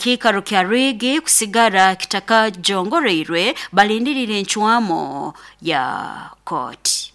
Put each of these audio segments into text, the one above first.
Kiikaro kya Rwigi kusigara kitakajongoroirwe balindirire encwamo ya kooti.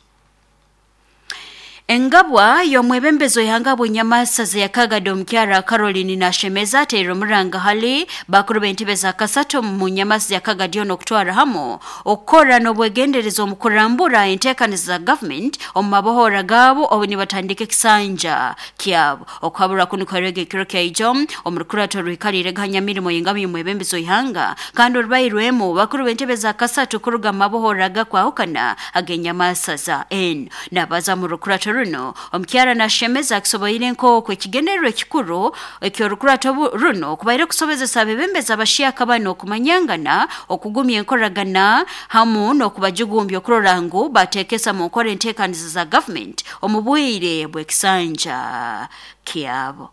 Engabwa y'omwebembezo yangabwa enyamasa zeyakagada omukyara Caroline Nashemeza ateire omuranga hali bakuru b'entebe za kasatu mu nyamasa yakagadi ono okutwara hamu okukora n'obwegendereza omu kurambura enteekaniza za government omu mabohora gaabo obu nibatandika ekisanja kyabo. Okuhabura kunu kwerega ekiro kyaijo omu rukurato rwikalire gahanya mirimo y'engabo y'omwebembezo ihanga kandi orubairwemu bakuru b'entebe za kasatu kuruga mu mabohora agakwahukana ag'enyamasa za N nabaza mu rukurato runo omukyara Nashemeza akisoboire nk'oku ekigendererwa ekikuru eky'orukurato runo kubaire kusobozesa abebembezi abashyaka bano okumanyangana, okugumya enkoragana hamu n'okubajugumbya okurora ngu bateekesa mu nkora enteekaniza za government omu bwire bw'ekisanja kyabo.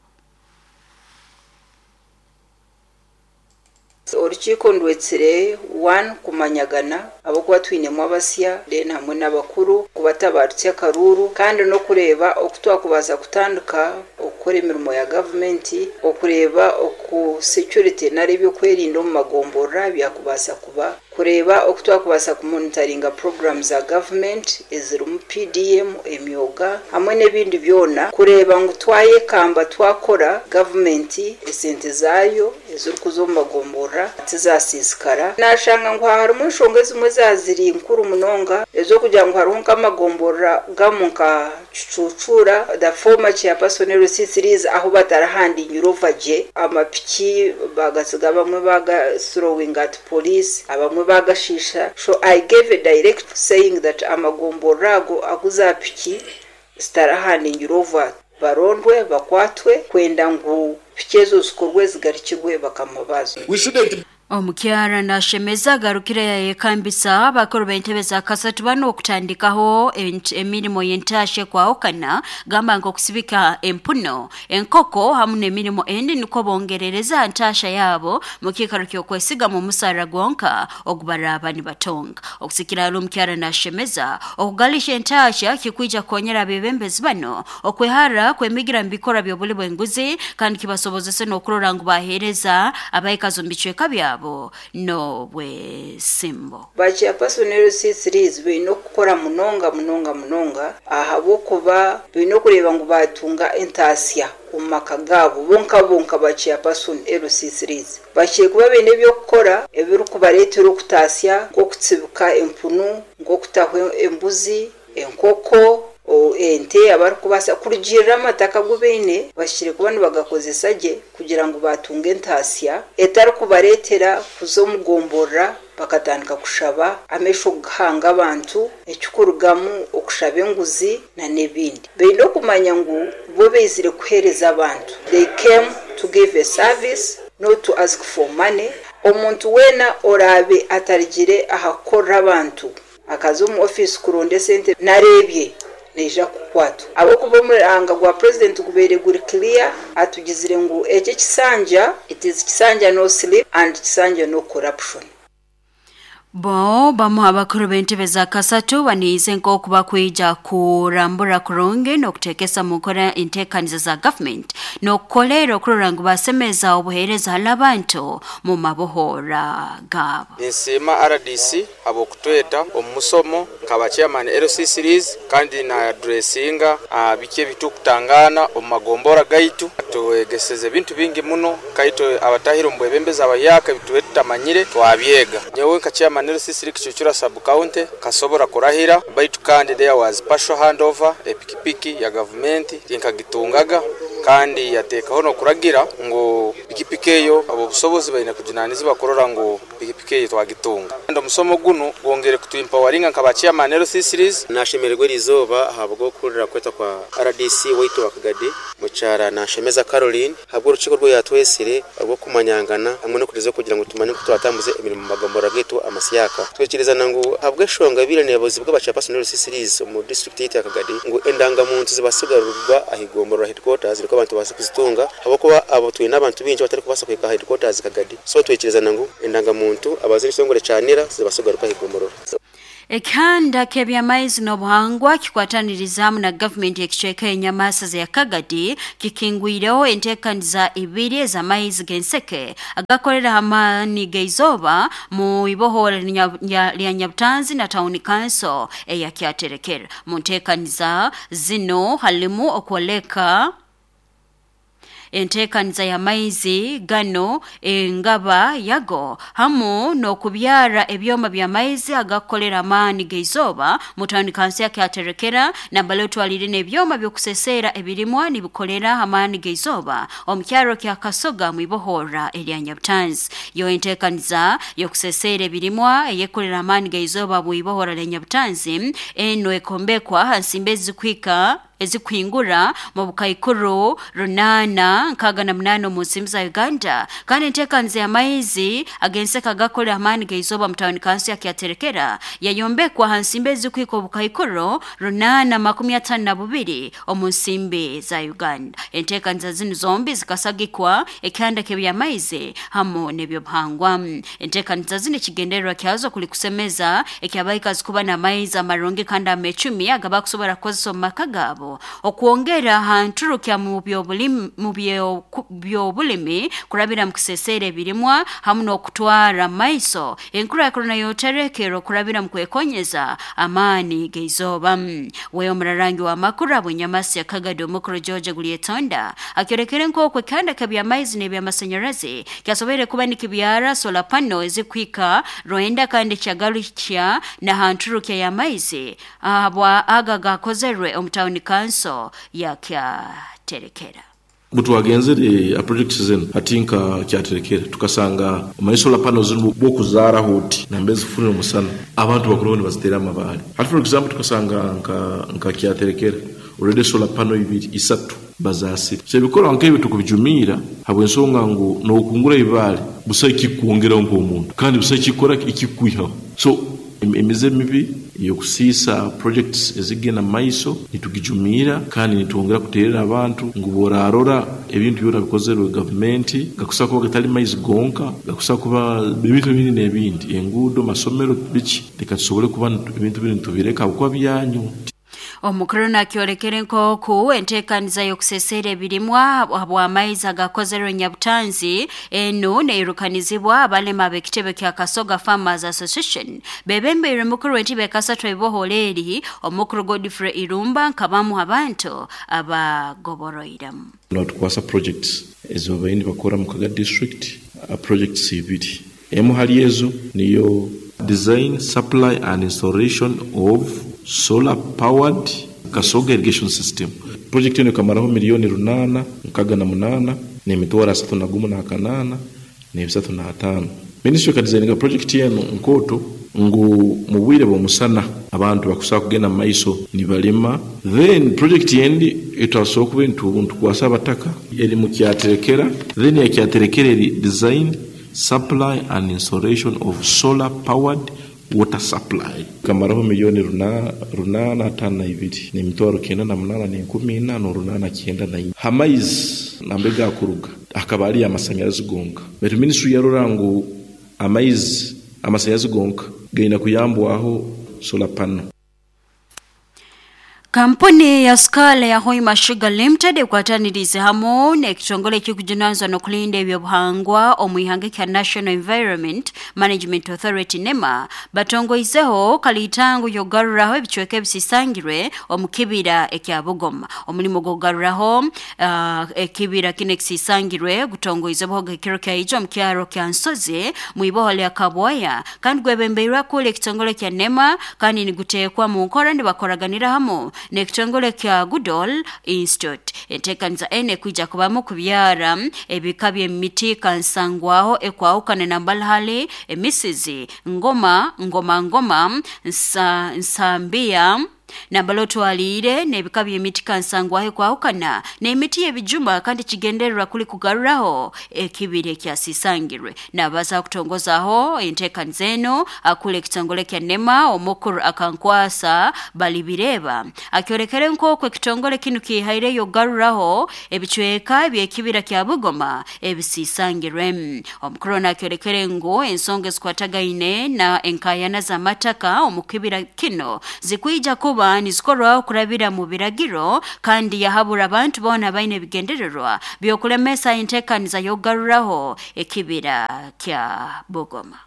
Orukiiko ndwetsire one kumanyagana ahabw'okuba twinemu abasya then hamwe n'abakuru kubatabarutsya akaruuru kandi n'okureeba oku twakubaasa kutandika okukora emirimo ya gavumenti, okureeba oku security nari ebyokwerinda omu magomborora byakubaasa kuba, kureeba oku twakubaasa kumonitaringa puroguramu za gavumenti ezirimu PDM, emyoga hamwe n'ebindi byona, kureeba ngu twayekamba twakora gavumenti esente zaayo ezirikuza omu magomborora tizasiisikara. Naashanga ngu harimu enshonga ezimwe ezaziri nkuru munonga ez'okugira ngu hariho nk'amagomborora gamwe nka Kicucuura, the former chairperson LC3s ahu batarahandingire ova gye, amapiki bagasiga abamwe baga throwing at police, abamwe bagashiisha, so I gave a direct saying that amagomborora ago agu za piki zitarahandingire ova barondwe bakwatwe kwenda ngu piki ezo zikorwe zigarukirwe bakama baazo. We shouldn't Omukyara Nashemeza agarukire yayekambisa abakuru b'entebe za kasatu bano okutandikaho emirimo y'entasha ekwahukana gamba nk'okusibika empuno, enkoko hamu n'emirimo endi nukwo bongerereza ntasha yabo mu kiikaro ky'okwesiga mu musara gwonka ogubaraaba nibatonga. Okusikira hali omukyara Nashemeza, okugalisha entasha kikwija kukonyera abebembezi bano okwehara kwemigira mu bikorwa by'obuli bw'enguzi kandi kibasobozese n'okurora ngu baheereza abaikazi omu bicweka byabo n'obwesimbo. Ba chairperson LC3s baine okukora munonga munonga munonga ahabw'okuba baine okureeba ngu baatunga entaasya omu maka gaabo bonka bonka. Ba chairperson LC3s bakire kuba baine eby'okukora ebirikubareetera okutaasya nk'okutsibika empunu, nk'okutaho embuzi, enkoko, ente abarikubaasa kurugiirira amataka agu baine bakire kuba nibagakozesa gye kugira ngu baatunga entaasya etarikubareetera kuza omu gomborora bakatandika kushaba amaisho kuhanga abantu ekikurugamu okushaba enguzi na n'ebindi. Baine okumanya ngu bo baizire kuheereza abantu, they came to give a service, not to ask for money. Omuntu weena oraabe atarigire aha kukorera abantu akaza omu ofiisi kuronda esente nareebye naija kukwatwa ahabw'okuba omuranga gwa purezidenti gubaire guri clear, atugizire ngu eki ekisanja, it is kisanja no sleep and kisanja no corruption. Bo bamu abakuru b'entebe za kasatu baniize nk'oku bakwija kurambura kurungi n'okuteekesa mu nkora enteekaniza za government n'okukoleera okurora ngu basemeza obuheereza hali abantu mu mabohora gaabo. Ninsiima RDC habw'okutweta omu musomo nkaba chairman LC series kandi na addressinga biki ebitukutangaana omu magombora gaitu. Twegeseze ebintu bingi muno kaitwe abatahire omu bwebembezi abahyaka ebitube tutamanyire twabyega. Nyowe nka chairman LC series Kicucura sub county kasobora kurahira, baitu kandi there was partial handover epikipiki ya gavumenti tinkagitungaga kandi yateekaho n'okuragira ngu pikipiki eyo abobusobozi baine kujunanizibwa kurora ngu pikipiki eyo twagitunga. Kandi omusomo gunu gwongere kutuempoweringa nka ba chairman LC series. Nashemererwa erizooba ahabw'okuhurira kwetwa kwa RDC waitu wa Kagadi, mukyara Nashemeza Caroline, ahabw'orukiiko rwe yatwesire orw'okumanyangana hamwe n'okugyeza kugira ngu tumanye oku turatambuze emirimo omu magombolola gaitu amasyaka. Twikirizana ngu ahabw'enshonga ebaire neebuuzibwa aba chairperson LC series omu disiturikiti yaitu ya Kagadi ngu endangamuntu zibaase kugarurwa aha igombolola headquarters nikwo abantu babaase kuzitunga ahabw'okuba abo twine abantu baingi abatarikubaasa kuhika aha headquarters Kagadi. So twikirizana ngu endangamuntu abaziire ekitongore kya NIRA zibaase kugaruka aha igomborora. Ekihanda ky'ebyamaizi n'obuhangwa kikwataniriza hamu na gavumenti ekicweka enyamasa ya Kagadi kikingwireho enteekaniza ibiri ez'amaizi g'enseke agakolera amaani g'eizooba mu ibohora lya Nyabutanzi na Town Council eya Kyaterekera. Mu nteekaniza zino halimu okwoleka enteekaniza y'amaizi gano, engaba yago, hamu n'okubyara ebyoma by'amaizi agakukolera amaani g'eizooba mu Town Council ya Kyaterekera, nambale otwalire n'ebyoma by'okuseseera ebirimwa nibikolera amaani g'eizooba omu kyaro kya Kasoga mu ibohora erya Nyabutanzi. Yo enteekaniza y'okuseseera ebirimwa eyekolera amaani g'eizooba mu ibohora lya Nyabutanzi eno ekombekwa ha nsimbi ezikuhika ezikuhingura mu bukaikuru 868 omu nsimbi za Uganda. Kandi enteekaniza y'amaizi ag'enseka agakolera amaani g'eizooba mu Town Council ya Kyaterekera yayombekwa ha nsimbi ezikuhika obukaikuru 852 omu nsimbi za Uganda. Enteekaniza zinu zombi zikasagikwa ekihanda ky'ebyamaizi hamu n'ebyobuhangwa. Enteekaniza zinu ekigendererwa kyazo kuli kusemeza ekyabaikazi kuba n'amaizi amarungi kandi amecumi agabakusobora kukozesa omu maka gaabo, okwongera ha nturukya mu byobulimi kurabira mu kuseseera ebirimwa hamu n'okutwara maiso enkurakurana y'oterekero kurabira mu kwekonyeza amaani g'eizooba. Wewe omurarangi wa makuru abwenyamasi ya Kagadi omukuru George Gulietonda akyorekere nk'oku ekihanda ky'ebyamaizi n'ebyamasanyarazi kyasoboire kuba nikibyara solar panel ezikuhika 9 kandi kyagarukya na ha nturukya y'amaizi ahabwa aga gakozerwe omu Town Council ya Kyaterekera. Butwagenzere a project zenu ati nka Kyaterekera tukasanga omanyi solar panels zinu bwokuzaraho oti nambe zifunire omusana abantu bakuru nibazitera amabaale. Hati for example tukasanga nka Kyaterekera already solar panel ibiri isatu bazasire. So ebikorwa nk'ebyo tukubijumira habw'ensonga ngu n'okungura ibaale busa ikikuongeraho nk'omuntu kandi busa ikikora ikikwihaho. So emize mibi yokusiisa projects ezigenda maiso nitugijumira kandi nitwongera kuterera abantu ngu borarora ebintu byona bikozerwe gavumenti gakusa kuba gatali maizi gonka, gakusa kuba ebintu ebindi n'ebindi, enguudo, masomero, biki, reka tusobole kuba ebintu biri nitubireka kuba byanyu. Omukuru nakyolekere nk'oku enteekaniza y'okuseseera ebirimwa habw'amaizi agakozerwe Nyabutanzi enu neirukanizibwa abalema ab'ekitebe kya Kasoga Farmers Association bebembeire mukuru w'entebe kasatu ibohora eri omukuru Godfrey Irumba nkabamu abantu abagoboroiremu. Natukwasa projects ezo baini bakora mu Kaga district, projects ibiri, emu hali ezo niyo design, supply and installation of solar powered Kasoga irrigation system. Project eno ikamaraho 868 n'emitwaro 31 n'ebisatu na Ministry ekadesigninga project eno nkoto ngu mu bwire bw'omusana abantu bakusobola kugenda mu maiso nibalima. Then project endi etwasobola kuba ntukwasa abataka eri mu Kyaterekera. Then ya Kyaterekera eri design, supply and installation of solar powered water supply, kamaraho 852 n'emitwaro 98 4,894. Hamaizi nambe gakuruga akaba ari amasanyarazi gonka, baitu ministry yarora ngu amaizi amasanyarazi gonka gaina kuyambwaho solar panel. Kampuni ya sukala ya Hoima Sugar Limited ekwatanirize hamu n'ekitongole ekikujunanizibwa n'okulinda ebyobuhangwa omu ihanga kya National Environment Management Authority NEMA batongoizeho kalitango y'okugaruraho ebicweka ebisisangirwe omu kibira ekya Bugoma. Omulimu gw'okugaruraho ekibira kino ekisisangirwe gutongoizebwaho ekiro kya omu kyaro kya Nsozi mu iboho lya Kabwaya kandi gwebembeirwe akula ekitongole kya NEMA kandi niguteekwa mu nkora nibakoraganira hamu n'ekitongole kya Goodall Institute. Enteekaniza ene kwija kubamu kubyara ebika by'emiti kansangwaho ekwahukana na mbalhali, emisizi, ngoma, ngoma ngoma, nsambia, Nambala otwaliire n'ebika by'emiti kansangwaho kwahukana n'emiti y'ebijuma, kandi kigendererwa kuli kugaruraho ekibira ekyasisangirwe. Nabaza kutongozaho enteekaniza eno akula ekitongole kya NEMA omukuru Akankwasa Balibireba akyolekere nk'oku ekitongole kinu kihaireyo kugaruraho ebicweka by'ekibira kya Bugoma ebisisangirwe. Omukuru ono akyolekere ngu ensonga ezikwatagaine na enkayana z'amataka omu kibira kino zikwija kuba nizikorwaho kurabira mu biragiro, kandi yahabura abantu boona baine ebigendererwa by'okulemesa enteekaniza y'okugaruraho ekibira kya Bugoma.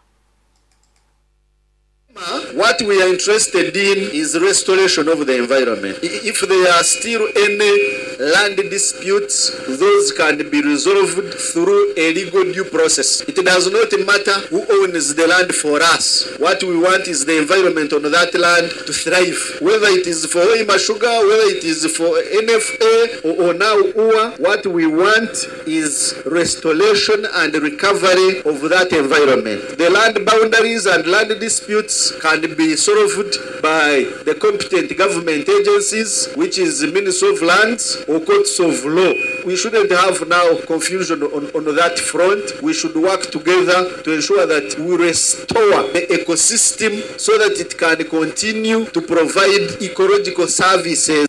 What we are interested in is restoration of the environment. If there are still any land disputes, those can be resolved through a legal due process. It does not matter who owns the land for us. What we want is the environment on that land to thrive. Whether it is for Hoima Sugar, whether it is for NFA or now UA, what we want is restoration and recovery of that environment. The land boundaries and land disputes can be solved by the competent government agencies, which is the Ministry of Lands or courts of law. We shouldn't have now confusion on that front. We should work together to ensure that we restore the ecosystem so that it can continue to provide ecological services.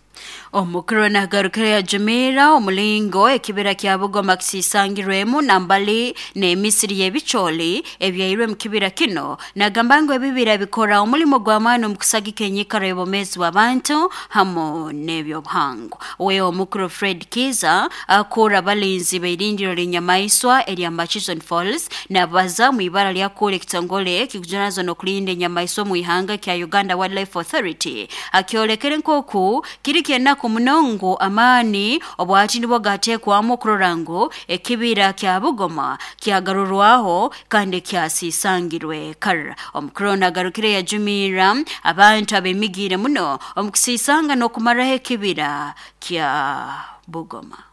Omukuru nagarukire yajumira omulingo ekibira kya Bugoma kisisangirwemu nambali n'emisiri y'ebicholi ebyairwe mu kibira kino. Nagamba ngu ebibira bikora omulimo gw'amaani omu kusagika enyikara y'obwomeezi bw'abantu hamu n'ebyobuhangwa. We omukuru Fred Kiza akura abalinzi b'eirindiro ly'enyamaiswa erya Murchison Falls nabaza mu ibara lyakura ekitongole kikujunaanizibwa n'okulinda enyamaiswa mu ihanga kya Uganda Wildlife Authority akyolekere nk'oku kiri kyenaku munongo amaani obwati nibwo gateekwamu okurora ngu ekibira kya Bugoma kyagarurwaho kandi kyasisangirwe kara. Omukuru ono agarukire yajumirra abantu abemigiire muno omu kusisanga n'okumaraho ekibira kya Bugoma.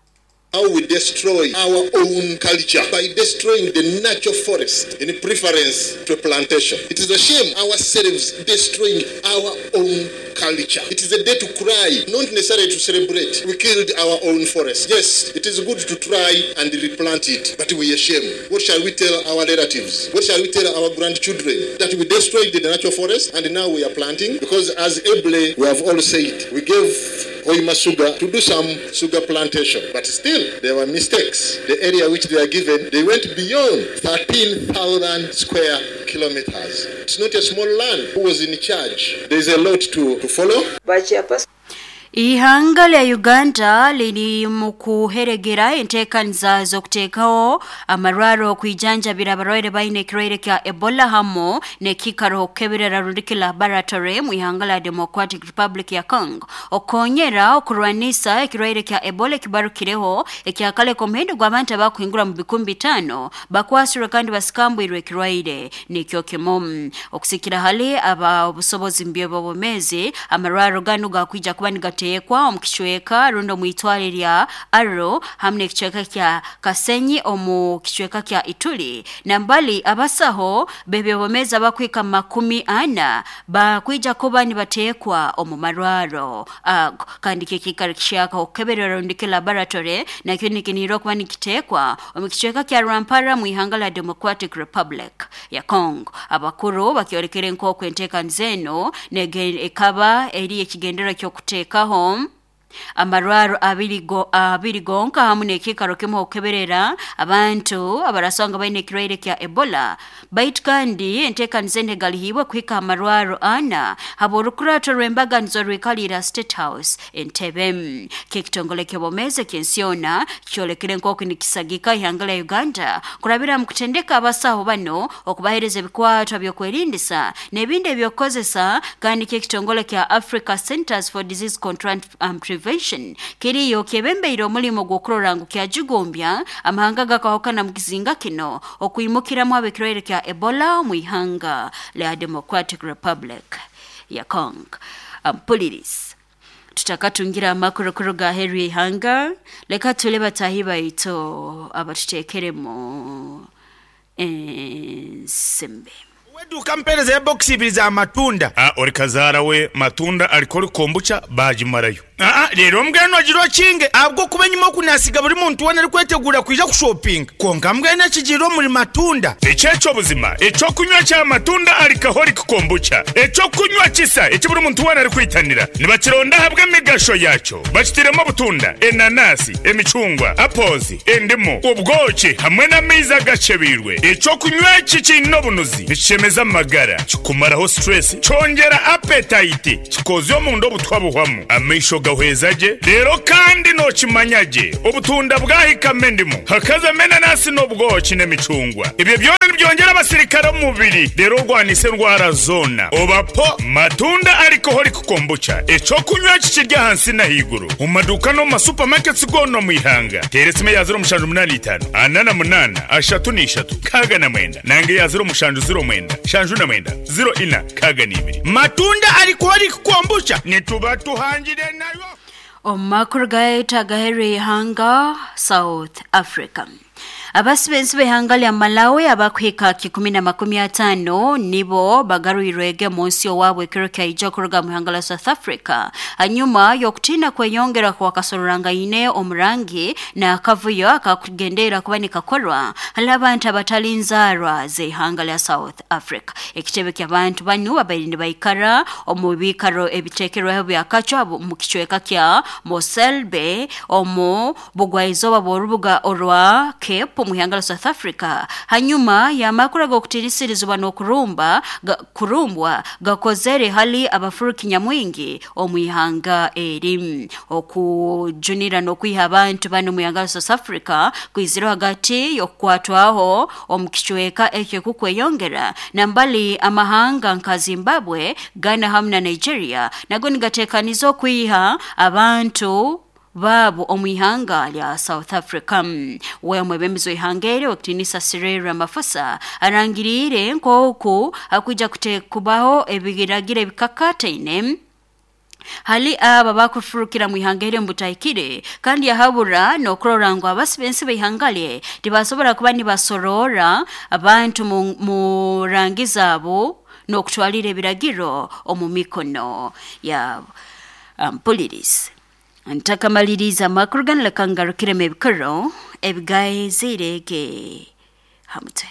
How we destroy our own culture by destroying the natural forest in preference to plantation. It is a shame ourselves destroying our own culture. It is a day to cry, not necessarily to celebrate. We killed our own forest. Yes, it is good to try and replant it, but we are ashamed. What shall we tell our relatives? What shall we tell our grandchildren? That we destroyed the natural forest and now we are planting? Because as ably we have all said, we gave Hoima Sugar to do some sugar plantation, but still there were mistakes. The area which they are given, they went beyond 13,000 square kilometers. It's not a small land. Who was in charge? There's a lot to follow. Ihanga lya Uganda liri mu kuheregera enteekaniza z'okuteekaho amarwaro okwijanjabira abarwaire baine ekirwaire kya Ebola hamu n'ekiikaro okukeberera rundiki laboratory mu ihanga lya Democratic Republic ya Congo okukonyera okurwanisa ekirwaire kya Ebola ekibarukireho ekyakaleka omuhendo gw'abantu abakuhingura mu 5,000 bakwasirwe kandi basikambwirwe ekirwaire nikyo kimu. Okusikira hali aba obusobozi mu by'obwomeezi, amarwaro ganu gakwija kuba nigateekwa omu kicweka rundi omu itwale lya Aro hamu n'ekicweka kya Kasenyi omu kicweka kya Ituri. Nambali abasaho b'ebyobwomeezi abakwika 40 bakwija kuba nibateekwa omu marwaro ago, kandi kikikaro kishaka okukeberera rundiki laboratory nakyo nikinihirwa kuba nikiteekwa omu kicweka kya Rwampara mu ihanga lya Democratic Republic ya Congo. Abakuru bakyolekere nk'oku enteekaniza eno ekaba eri ekigendererwa ky'okuteekaho amarwaro abiri gonka hamu n'ekiikaro kimu okukeberera abantu abarasanga baine ekirwaire kya Ebola. Baitu kandi enteekaniza eno egalihiibwe kuhika amarwaro 4 habw'orukurato rw'embaganizo rwikalira State House Entebbe. K'ekitongole ky'obwomeezi eky'ensi yoona kyolekere nk'oku nikisagika ihanga lya Uganda kurabira mu kutendeka abasaho bano okubaheereza ebikwatwa by'okwerindisa n'ebindi ebyokukozesa, kandi ky'ekitongole kya Africa Centers for Disease Control and Prevention kiriyo kyebembeire omulimo gw'okurora ngu kyajugumbya amahanga gakahukana mu kizinga kino okwimukiramu ab'ekirwaire kya Ebola mu ihanga lya Democratic Republic ya Congo. Ampulirizi tutakatungira amakuru kuruga aheeru y'ihanga, leka tule batahi baitu abatuteekeremu ensimbi. Eduuka mpeerezeyo bokisi ibiri za matunda. A Ori kazaara we matunda alcoholic kombucha baagimarayo. Aa Reero mbwenu ogire okinge ahabw'okuba enyima oku naasiga buri muntu weena arikweteguura kwija kushopinga. Kwonka mbwenu ekigiire omuri matunda. Eki eky'obuzima eky'okunywa kya matunda alcoholic kombucha, eky'okunywa kisa eki buri muntu weena arikwitanira. Nibakironda ahabw'emigasho yaakyo. Bakitairemu obutunda, enanasi, emicungwa, apples, endimu, obwoki hamwe n'amaizi agakyebeirwe. Eky'okunywa eki kiine obunuzi, nikishemeza amagara, kikumaraho stress, kyongyera appetite, kikoozya omunda obutwa buhwamu, amaisho gahweza gye, reero kandi nookimanya gye obutunda bwahikamu endimu, hakazamu enanasi n'obwoki n'emicungwa. Ebyo byona nibyongyera abasirikare omu mubiri reero orwanise endwara zoona. Oba po Matunda Alcoholic Kombucha, eky'okunywa eki kiri ahansi n'ahaiguru omu maduuka n'omu ma supermarkets goona omu ihanga. Teera esimu eya 0785 48 33 69 nanga eya 0709 79 04 62. Matunda Alcoholic Kombucha nituba tuhangire nayo. Omu makuru gaitu agaheru y'ihanga South Africa. Abasibensi b'ihanga lya Malawi abakuhika 150 nibo bagarwirwege mu nsi owaabwe ekiro kyaija kuruga mu ihanga lya South Africa hanyuma y'okutiina kweyongera kwa kasororrangaine omurangi n'akavuyo akakugendeera kuba nikakorwa hali abantu abatali nzaarwa z'ihanga lya South Africa. Ekitebe ky'abantu banu babaire nibaikara omu biikaro ebiteekerweho byakacwa mu kicweka kya Mosel Bay omu bugwaizooba bw'orubuga orwa Cape omu ihanga lya South Africa hanyuma y'amakuru ag'okutiinisirizibwa n'okurumba kurumbwa gakozere hali abafuruki nyamwingi omu ihanga eri. Okujunira n'okwiha abantu banu omu ihanga lya South Africa kwizire hagati y'okukwatwaho omu kicweka ekyo kukweyongera nambali amahanga nka Zimbabwe, Ghana hamu na Nigeria nago nigateekaniza okwiha abantu baabo omu ihanga lya South Africa. We omwebembezi w'ihanga eri owekitiinisa Cyril Ramaphosa arangiriire nk'oku hakwija kubaho ebiragiro ebikakataine hali aba bakufurukira mu ihanga eri omubutahikire kandi yahabura n'okurora ngu abasibensi b'ihanga lye tibasobora kuba nibasorora abantu mu rangi zaabo n'okutwalira ebiragiro omu mikono yabo. Mpulirize. Ntakamaliriza amakuru ganu leka ngarukiremu ebikoro ebigaizirege ha mutwe.